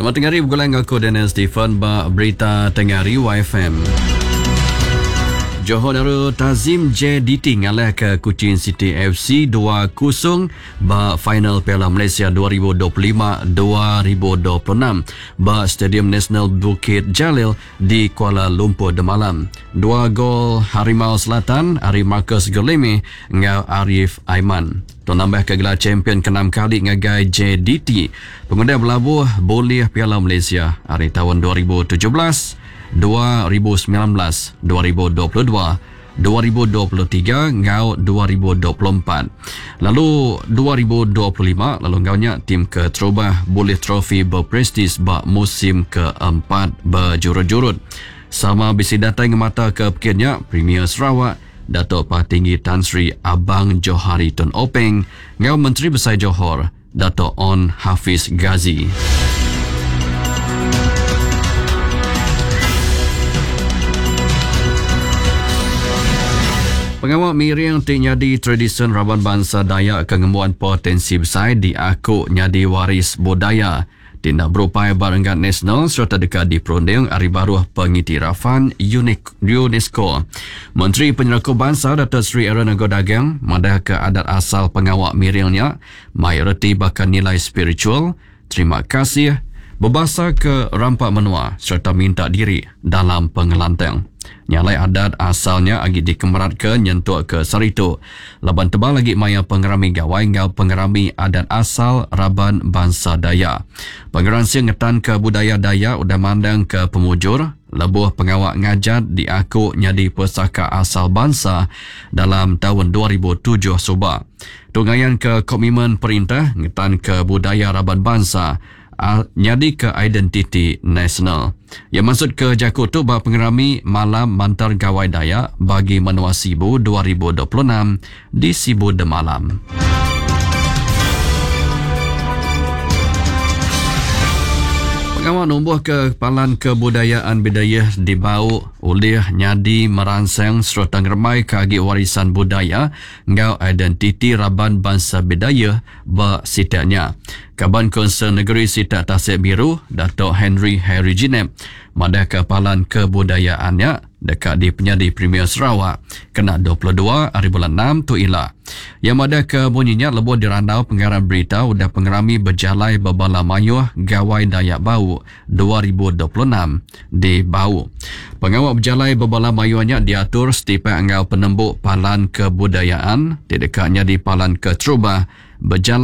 Selamat tengah hari begulai enggau aku Daniel Stephen ba Berita Tengah Hari YFM. Johor Darul Tazim JDT ngalahka Kuching City FC 2-0 ba final Piala Malaysia 2025-2026 ba Stadium Nasional Bukit Jalil di Kuala Lumpur demalam. Dua gol Harimau Selatan ari Marcus Guilherme enggau Arif Aiman. Tu nambahka gelar champion keenam kali ngagai JDT pengudah belabuh bulih Piala Malaysia ari taun 2017, 2019, 2022, 2023 enggau 2024 lalu 2025 lalu enggau nya tim keterubah bulih trofi berprestis ba musim keempat bejurut-jurut. Sama bisi datai ngemataka pekit nya Premier Sarawak Datuk Patinggi Tan Sri Abang Johari Tun Openg enggau Menteri Besai Johor Datuk Onn Hafiz Ghazi. Pengawa miring ti nyadi tradisyen raban bansa Dayak ke ngembuan potensi besai diaku nyadi waris budaya ti enda berupai ba renggat nasional sereta deka diperunding ari baruh pengiktirafan UNESCO. Menteri Penyerakup Bansa Datuk Seri Aaron Ago Dagang madahka adat asal pengawa miring nya mai reti baka nilai spiritual, terima kasih, bebasa ke rampa menua sereta minta diri dalam pengelantang. Nya alai adat asal nya agi dikemeratka nyentuk ke sehari tu laban tebal agi maya pengerami gawai enggau pengerami adat asal raban bansa Dayak. Pengeransing ngetanka budaya Dayak udah mandangka pemujur lebuh pengawa ngajat diaku nyadi pesaka asal bansa dalam taun 2007 suba. Tu ngayanka komitmen perintah ngetanka budaya raban bansa nyadika identiti nasional. Iya mansutka jaku tu ba pengerami Malam Mantar Gawai Dayak Bagi Menua Sibu 2026 di Sibu demalam. Pengawa numbuhka Palan Kebudayaan Bidayuh di Bau ulih nyadi meransang sereta ngerembaika agi warisan budaya enggau identiti raban bansa Bidayuh ba sitak nya. Kaban Kaunsil Negeri Sitak Tasik Biru, Datuk Henry Harry Jinep madahka palan kebudayaan nya deka dipenyadi Premier Sarawak kena 22 hari bulan enam tu ila. Iya madahka munyi nya lebuh dirandau pengarang berita udah pengerami bejalai bebala mayuh Gawai Dayak Bau 2026 di Bau. Pengawa bejalai bebala mayuh nya diatur setipak enggau penembu Palan Kebudayaan ti deka nyadi palan keterubah bejalai.